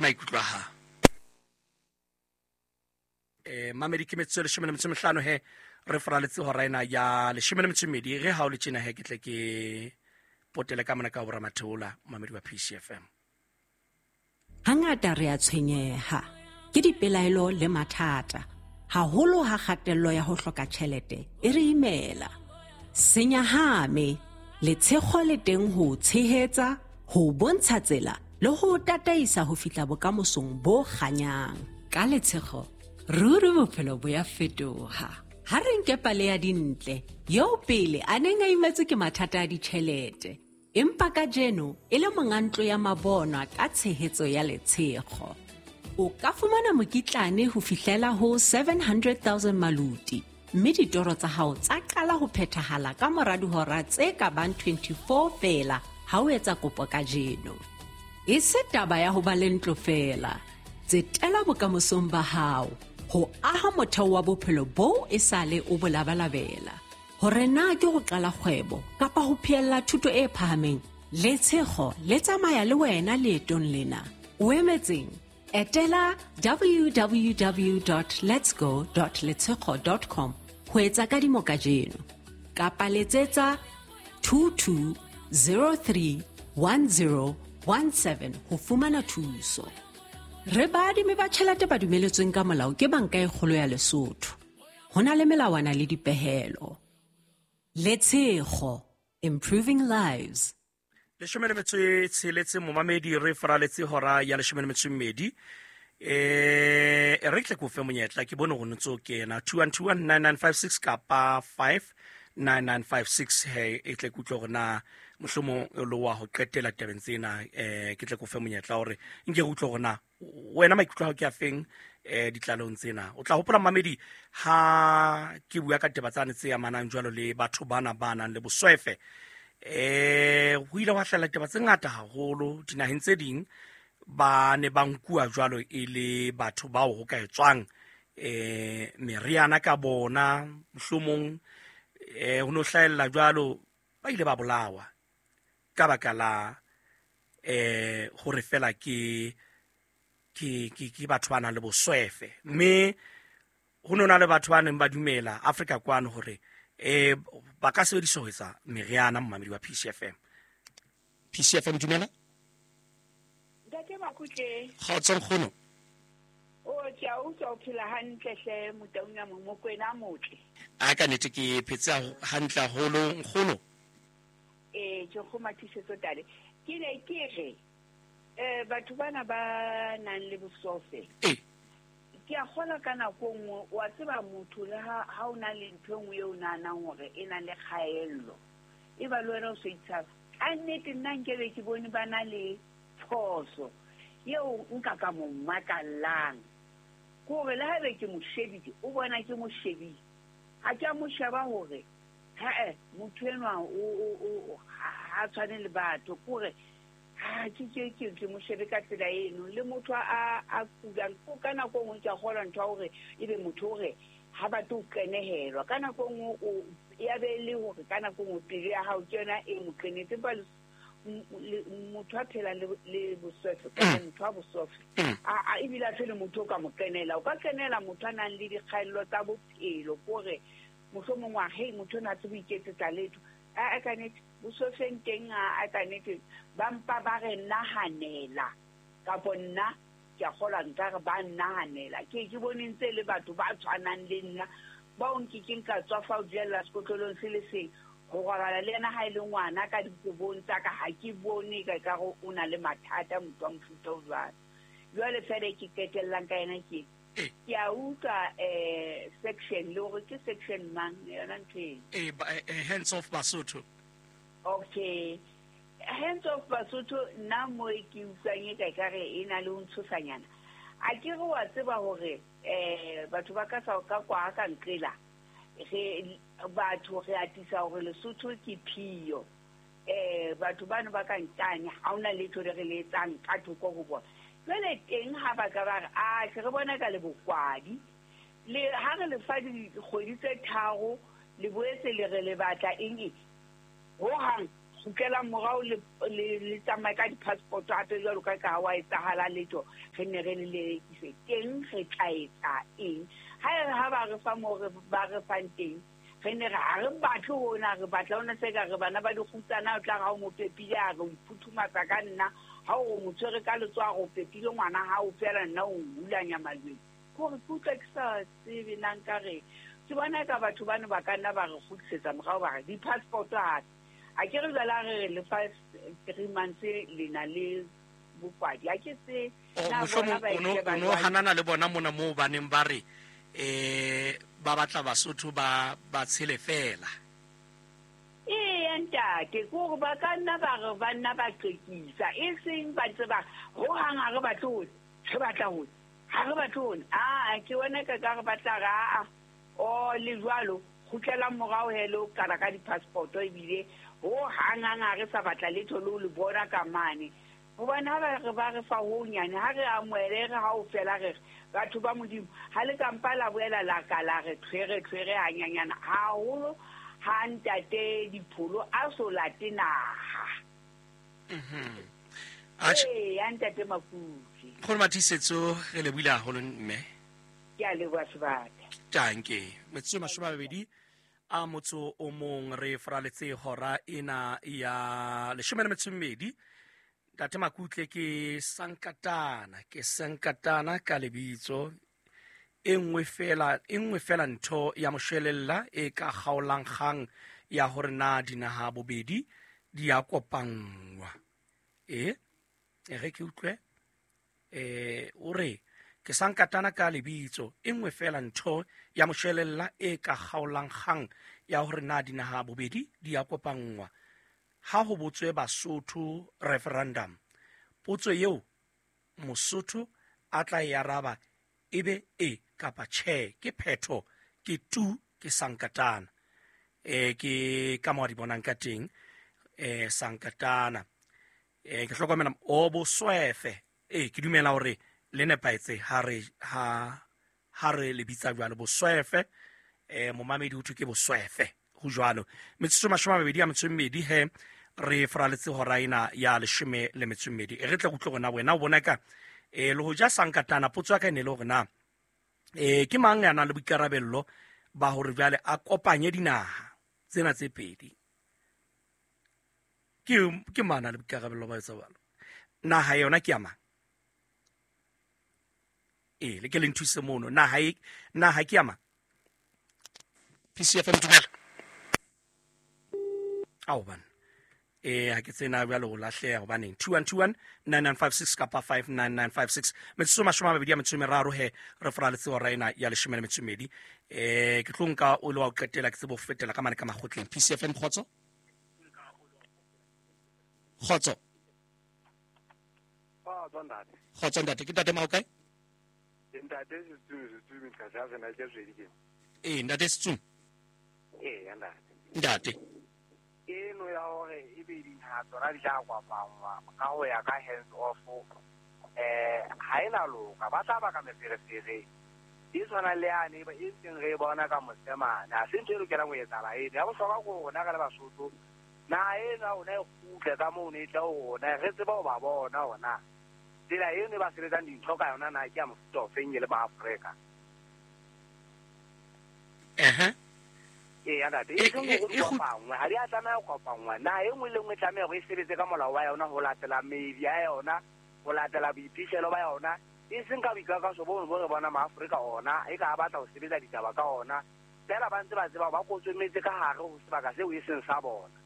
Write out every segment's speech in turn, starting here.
Ke maikutlo a hao. Mamedi ke metsotso e 15 he re foraletse hora ena ya 12. Ge ha o le tjena he ke tle ke potele ka mona ka ho Ramatheola, mamedi wa PCFM. Hangata re a tshwenyeha ke dipelaelo le mathata, haholo ha kgatello ya ho hloka tjhelete e re imela. Senyahame, letshego le teng ho o tshehetsa, ho o bontsha tsela le ho o tataisa ho fihla bokamosong bo kganyang. Ka letshego, ruri bophelo bo ya fetoha. Ha re nke pale ya Dintle, eo pele a neng a imetswe ke mathata a ditjhelete, empa kajeno e le monga ntlo ya mabonwa ka tshehetso ya letshego. O ka fumana mokitlane ho fihlela ho 700,000 maluti, mme ditoro tsa hao tsa qala ho phethahala ka mora dihora tse ka bang 24 feela ha o etsa kopo kajeno. E se taba ya ho ba le ntlo feela, tsetela bokamosong ba hao ho aha motheo wa bophelo boo e sale o bo labalabela. Hore na ke ho qala kgwebo kapa ho phehella thuto e phahameng, letshego le tsamaya le wena leetong lena. O emetseng? Etela www.letsgo.letshego.com ho etsa kadimo kajeno, kapa letsetsa 22031017 ho fumana thuso. Re baadimi ba tjhelete ba dumeletsweng ka molao ke Banka e Kgolo ya Lesotho. Ho na le melawana le dipehelo. Letshego, improving lives. 16 momamedi, re faraletse hora ya 12. Re tle ke o fe monyetla, ke bone gore ntse o kena 21219956 kapa 59956 he e tle ke utlwe gore na mohlomong o le wa ho qetela tabeng tsena. Ke tle ke o fe monyetla hore nke re utlwe gore na wena maikutlo a hao ke a feng ditlalehong tsena. O tla hopola mamedi ha ke bua ka taba tsane tse amanang jwalo le batho bana ba nang le boswefe. Ho ile hwa hlahella ditaba tse ngata haholo dinaheng tse ding, ba ne ba nkuwa jwalo e le batho bao ho ka etswang meriana ka bona, mohlomong ho no hlahella jwalo, ba ile ba bolawa ka baka la hore fela ke batho ba nang le boswefe. Mme ho no na le batho ba neng ba dumela Afrika kwano hore ba ka sebediswa ho etsa meriana. Momamedi wa PCFM. PCFM, dumela. Ntate Makutle. Kgotso nkgono. O ke a utlwa o phela hantle hle Motaung Mokwena motle. A ka nnete ke phetse hantle haholo nkgono. Ke kgomathisetso tale. Ke ne ke re batho bana ba nang le bosofe. Ke a kgola ka nako nngwe, wa tseba motho le ha o na le ntho e nngwe eo o nahanang hore e na le kgaello, e ba le wena o so itshaba. Ka nnete nna nkebe ke bone ba na le phoso eo nka ka mo makallang. Ke hore le haebe ke mo shebile, o bona ke mo shebile. Ha ke a mo sheba hore ha-eh, motho enwa o ha tshwane le batho. Ke hore ha ke mo shebe ka tsela eno. Le motho a kulang, ka nako e nngwe ke a kgolwa ntho ya hore ebe motho hore ha batle ho qenehelwa. Ka nako e nngwe o ya be le hore ka nako e nngwe pelo ya hao ke yona e mo qenetse. Empa motho a phelang le boswefe, kapa motho a boswefe, a ebile a se le motho o ka mo qenela. O ka qenela motho a nang le dikgaello tsa bophelo, ke hore mohlomong wa hei motho ona a tsebe ho iketsetsa letho. A ka nnete boswefeng teng, a ka nnete ba mpa ba re nahanela, kapo nna ke a kgolwa nkare ba nnahanela. Ke bone ntse le batho ba tshwanang le nna, bao nkekeng ka tswa fa ho jella sekotlolong se le seng, ho robala le yena ha e le ngwana ka dikobong tsa ka, ha ke bone ka ekare o na le mathata motho wa mofuta o jwalo. Jwale fela e ke qetellang ka yena ke, ke a utlwa section, le hore ke section mang yona ntho eno? Hands off Basotho. Okay. Hands off Basotho, nna mo e ke utlwang e ka ekare e na le ho ntshosanyana. A ke re wa tseba hore batho ba ka sa ka kwa ka nqela, re batho re atisa hore Lesotho ke phiyo. Batho bano ba ka nkane, ha hona letho le re le etsang ka thoko ho bona. Jwale teng ha ba ka ba re, a hle re bona ka le bokwadi. Le ha re le fa dikgwedi tse 3, le boetse le re le batla eng eng? Hohang Kgutlelang morao le le tsamaye ka di-passport hape jwalo ka ka ha wa etsahala letho, re ne re le lelekise teng, re tla etsa eng? Ha e re ha ba re fa moo re ba re fang teng, re ne re ha re batle hona, re batla hona se ka re bana ba dikgutsana, o tla re ha o mo pepile a re o iphuthumatsa ka nna, ha o mo tshwere ka letsoho a re o pepile ngwana hao fela, nna o hulanya malweng. Ke hore ke utlwa ke sa tsebe na nka reng. Ke bona eka batho bano ba ka nna ba re kgutlisetsa morao, ba re di-passport hape. A ke re jwale ha re re le fa 3 months le na le bokwadi, ha ke tsebe. Oh, Na bona mohlomong ba o no ile ba o no jwang? hanana le bona mona moo ba neng ba re ba batla Basotho ba ba tshele fela. Eya ntate, ke hore ba ka nna ba re ba nna ba qekisa, e seng ba ntse ba re hohang ha re batle hona, re batla hona, ha re batle hona. Aa, ke bona ka ka re batla re aa, o le jwalo, kgutlelang morao he le ho qala ka di-passport ebile hohang hang ha re sa batla letho le ho le bona ka mane. Hobane ha ba re ba re fa ho nyane, ha re amohele, re ha o fela re re batho ba Modimo, ha le ka mpa la boela la ka la re tshwere tshwere hanyanyana haholo ha ntate Dipholo a so late naha. Atjhe. Ee, ya ntate Makutle. Nkgono Matiisetso, re lebohile haholo mme. Ke a leboha sebaka. Tanke. Metsotso e 20 a motso o mong re fraletse hora ena ya 12. Ntate Makutle ke Sankatana, ke Sankatana ka lebitso. E nngwe fela, e nngwe fela ntho ya moshwelella e ka kgaolang kgang ya hore na dinaha bobedi di a kopanngwa. E, e re ke utlwe. O re ke Sankatana ka lebitso, e nngwe fela ntho ya moshwelella e ka kgaolang kgang ya hore na dinaha bobedi di a kopanngwa. Ha ho botswe Basotho referendum, potso eo Mosotho a tla e araba ebe e kapa tjhe, ke phetho, ke tu, ke Sankatana. Ke ka mo a di bonang ka teng, Sankatana. Ke hlokomela o boswefe. Ke dumela hore le nepahetse ha re, ha, ha re le bitsa jwalo boswefe. Momamedi ho thwe ke boswefe, ho jwalo. Metsotso 24 he re fraletse hora ena ya 12. E re tle re utlwe hore na wena o bona ka, le ho ja Sankatana, potso ya ka e ne le hore na, ke mang ya nang le boikarabello ba hore jwale a kopanye dinaha tsena tse pedi? Ke mang a nang le boikarabello ba etsa jwalo? Naha yona ke ya mang? Le ke le nthuse mono. Naha e, naha ke ya mang? PCFM dumela. Ao bana. Ha ke tsena jwale ho lahleha hobaneng. 2121 9956 kapa 59956. Metsotso 23 he re fraletse hora ena ya 12. Ke tlo nka o le wa ho qetela ke tsebe ho fetela ka mane ka makgotleng. PCFM kgotso? Kgotso. Kgotso ntate. Kgotso ntate, ke ntate Maokae? Ke ntate Setsumi, Setsumi, ntate, ha sena ke tswedi ke. Ntate Setsumi. Ya ntate. Ntate. Eno ya hore e be dinaha tsona di tla kopanngwa ka ho ya ka hands off, ha ena loka, ba tla baka meferefere e tshwanang le yane e ntseng re e bona ka mosemane. Ha se ntho e lokelang ho etsahala eno. Ya bohlokwa ke hore rona re le Basotho, naha eno ya rona e kgutle ka moo ne e tla ho rona, re tsebe ho ba bona hore na tsela eno e ba sebetsang dintho ka yona na ke ya mofuta ofeng e le maAfrika. Eya, ntate, e seng hore di kopanngwe, ha di a tlameha ho kopanngwa. Naha e nngwe le nngwe e tlameha hore e sebetse ka molao wa yona ho latela meedi ya yona, ho latela boiphihlelo ba yona, e seng ka boikakaso bono bo re bona maAfrika ona e ka a batla ho sebetsa ditaba ka ona, feela ba ntse ba tseba hore ba kotsometse ka hare ho sebaka seo e seng sa bona.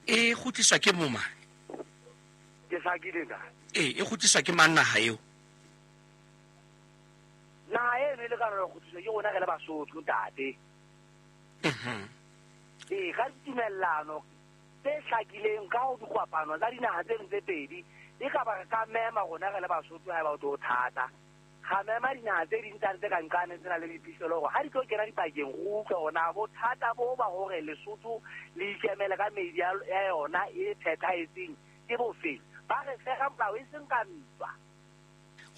E kgutliswa ke moma? Ke hlakile, ntate. E kgutliswa ke mang naha eo? Naha eno e lekana le ho kgutliswa ke rona re le Basotho, ntate. Ka ditumellano tse hlakileng ka ho dikopano tsa dinaha tseno tse pedi, e ka ba re ka mema rona re le Basotho haeba ho tlo thata. Ra mema dinaha tse ding tsane tse ka nqane tse nang le boiphihlelo hore ha di tlo kena dipakeng re utlwe hore na bothata bo ba hore Lesotho le ikemele ka meedi ya yona e phethahetseng ke bofeng. Ba re fe ka molao e seng ka ntwa.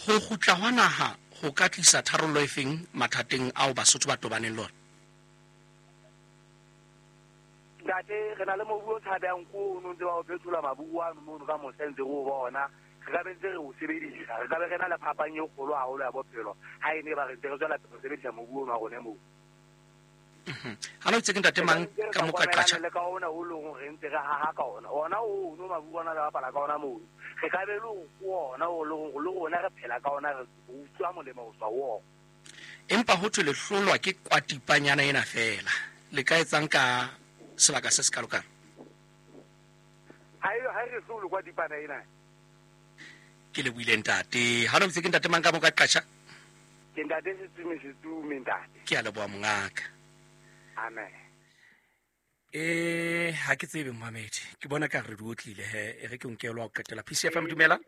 Ho kgutla hwa naha ho ka tlisa tharollo e feng mathateng ao Basotho ba tobaneng le ona? Ntate, re na le mobu o tshabehang ko o no ntse ba o phethola mabu ano mono ka mose ntse re o bona. Re ka be ntse re o sebedisa. Re ka be re na le phapang e kgolo haholo ya bophelo ha e ne ba re ntse re tswela pele ho sebedisa mobu ono wa rona moo. Ha no itse ke ntate mang ka mo ka qatjha le ka ona o leng re ntse re haha ka ona. Ona o no mabu ona re bapala ka ona moo. Re ka be le ona o leng le rona re phela ka ona, re utlwa molemo ho tswa ho ona. Empa ho thwe le hlolwa ke kwatipanyana ena feela. Le ka etsang ka sebaka se se kalokalo? Ha e re hlolwe kwatipana ena. Ke le buile ntate. Ha no itse ke ntate mang ka mo ka qatjha? Ke ntate Setsume, Setsume ntate. Ke a leboha mongaka. Amen. Ha ke tsebe momamedi. Ke bona ka re di otlile he, e re ke nkelwa ho qetela. PCFM dumela.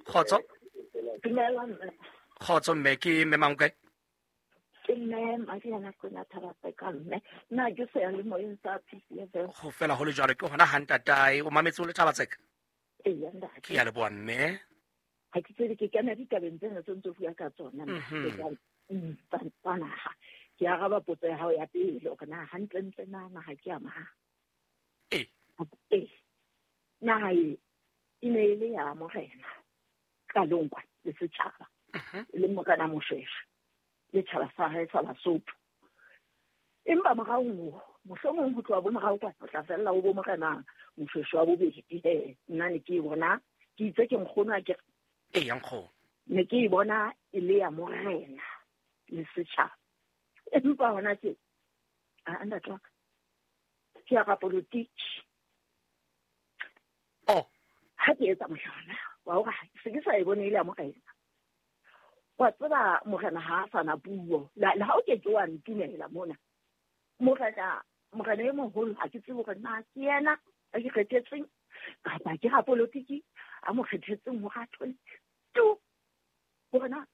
Kgotso. Dumela mme. Kgotso mme, ke mme mang kae? Ke mme Mariana Kwena Thabaseka mme. Nna ke seyalemoyeng sa PCFM. Ho fela ho le jwalo, ke hona ha ntatae o mametse o le Thabatseka? Eya ntate. Ke a leboha mme. Ha ke tsebe, ke kena ditabeng tsena tse ntse bua ka tsona, mme. Tsa naha. Ke araba potso ya hao ya pele hore na hantlentle na naha ke ya mang. Naha e e ne e le ya morena qalong kwa le setjhaba. E le morena Moshweshwe le tjhaba sa hae sa Basotho. Empa morao moo, mohlomong ho tloha bo morao kwa, ho tla fella ho bo morena Moshweshwe wa bobedi. Nna ne ke e bona, ke itse ke nkgono a ke Ee, ya nkgono. Ne ke e bona e le ya morena le setjhaba. Empa hona tje, a ntate wa ka, ke ya rapolotiki. Oh. Ha ke etsa mohlala wa hore ha se ke sa e bone e le ya morena. Wa tseba morena ha a sa na puo. Le ha o ke ke wa ntumela mona. Morena e moholo ha ke tsebe hore na ke yena a ke kgethetseng kapa ke rapolotiki a mo kgethetseng hore a thole tu. Hore na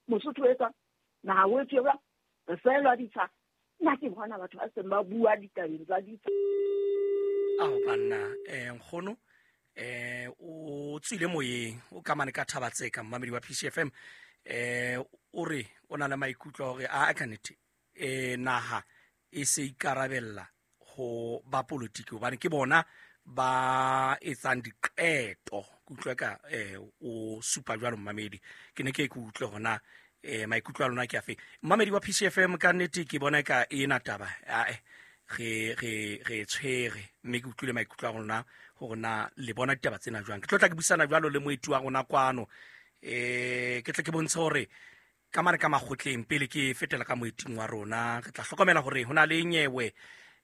Mosotho o etsang, naha o etswe jwang, re feelwa ditsha. Nna ke bona batho ba seng ba bua ditabeng tsa ditsha. Ao banna, nkgono, o tswile moyeng, o kamane ka Thabatseka, mmamedi wa PCFM, o re o na le maikutlo a hore a ka nnete, naha e se ikarabella ho ba politiki hobane ke bona ba etsang diqeto. Ke utlwe ka o supa jwalo mmamedi, ke ne ke ke utlwe hona maikutlo a lona ke afe. Mmamedi wa PCFM, ka nnete ke bona ka ena taba ae re tshwere, mme ke utlwile maikutlo a rona hore na le bona ditaba tsena jwang. Ke tlo tla ke buisana jwalo le moeti wa rona kwano, ke tle ke bontshe hore ka mane ka makgotleng pele ke fetela ka moeting wa rona, re tla hlokomela hore ho na le nyewe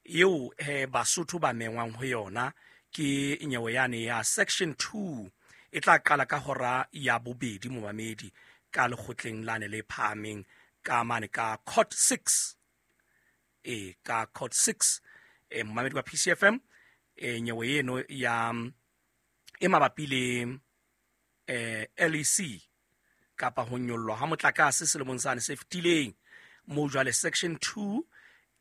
eo Basotho ba mengwang ho yona, ke nyewe yane ya section 2 e tla qala ka hora ya bobedi momamedi ka lekgotleng lane le phahameng ka mane ka court 6. Ka court 6, momamedi wa PCFM, nyewe eno ya e mabapi le LEC kapa ho nyollwa ha motlakase selemong sane se fetileng, moo jwale section 2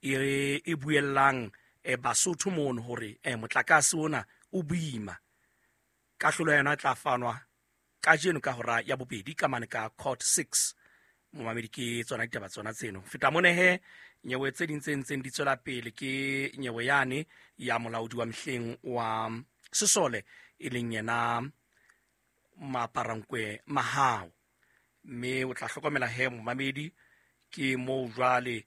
e buellang Basotho mono hore motlakase ona o boima. Kahlolo ya yona e tla fanwa kajeno ka hora ya bobedi ka mane ka court 6. Momamedi, ke tsona ditaba tsona tseno. Feta mone he, nyewe tse ding tse ntseng di tswela pele ke nyewe yane ya molaodi wa mehleng wa sesole e leng yena Maparankwe Mahao. Mme o tla hlokomela he momamedi, ke moo jwale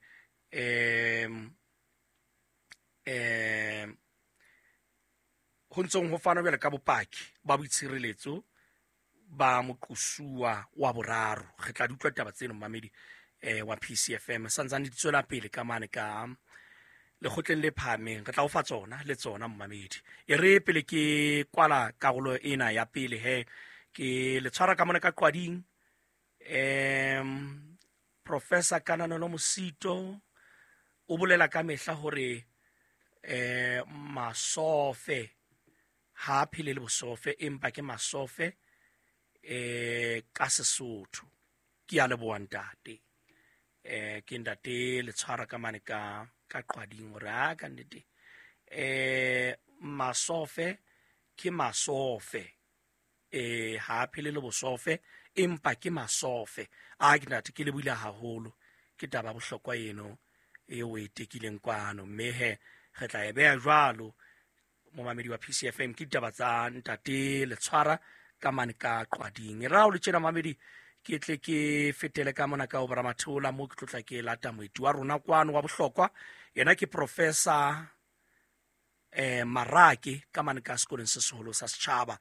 ho ntsong ho fanwa jwale ka bopaki ba boitshireletso ba moqosuwa wa boraro. Re tla di utlwa ditaba tseno momamedi wa PCFM, santsane di tswela pele ka mane ka lekgotleng le phahameng. Re tla o fa tsona le tsona momamedi. E re pele ke kwala karolo ena ya pele he, ke le tshwara ka mona ka qwading. Professor Kananelo Mosito o bolela ka mehla hore masofe ha phele le bosofe, empa ke masofe ka Sesotho. Ke a leboha ntate. Ke ntate le tshwara ka mane ka qwading hore a ka nnete masofe ke masofe, ha phele le bosofe empa ke masofe. A ke ntate ke le buile haholo, ke taba bohlokwa eno e o e tekileng kwano. Mme he re tla e beha jwalo, momamedi wa PCFM, ke ditaba tsa ntate Letshwara ka mane ka Qwading. E ra o le tjena mamedi, ke tle ke fetele ka mona ka ho Bramatheola, mo ke tlotla ke lata moeti wa rona kwano wa bohlokwa. Yena ke Professor Marake ka mane ka sekolong se seholo sa setjhaba.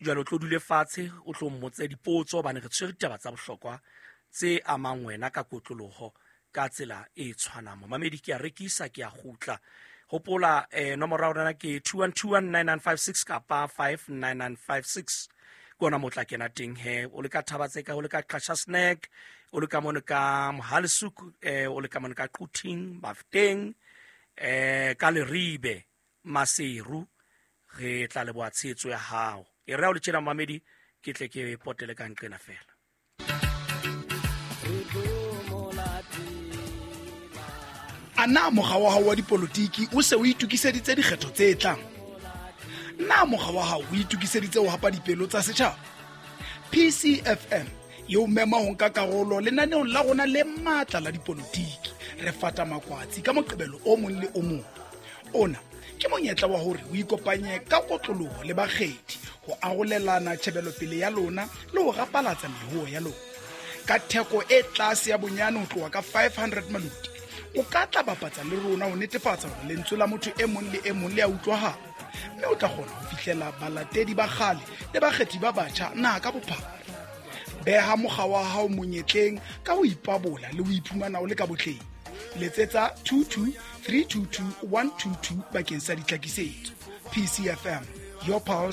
Jwale o tlo dule fatshe, o tlo mmotse dipotso, hobane re tshwere ditaba tsa bohlokwa tse amang wena ka kotloloho ka tsela e tshwanang. Momamedi, ke a rekisa, ke a kgutla. Hopola nomoro ya rona ke 21219956 kapa 59956, ke ona mo tla kena teng he. O le ka Thabatseka, o le ka Qasha Snack, o le ka mono ka Mohalesuku, o le ka mono ka Quthing, Bafteng, ka Leribe, Maseru, re tla leboha tshehetso ya hao. E re ha o le tjena momamedi, ke tle ke potele ka nqena fela. A na mokga wa hao wa dipolotiki o se o itokiseditse dikgetho tse tlang? Na mokga wa hao o itokiseditse ho hapa dipelo tsa setjhaba? PCFM e o mema ho nka karolo lenaneong la rona le matla la dipolotiki. Re fata makwatsi ka Moqebelo o mong le o mong. Ona ke monyetla wa hore o ikopanye ka kotloloho le bakgethi ho arolelana tjhebelopele ya lona le ho rapalatsa mehoho ya lona. Ka theko e tlase ya bonyane ho tloha ka 500 maluti, o ka tla bapatsa le rona ho netefatsa hore lentswe la motho e mong le e mong le a utlwahala, mme o tla kgona ho fihlela balatedi ba kgale le bakgethi ba batjha naha ka bophara. Beha mokga wa hao monyetleng ka ho ipabola le ho iphumana o le ka botleng. Letsetsa 22 322 122 bakeng sa ditlhakisetso. PCFM, your pulse.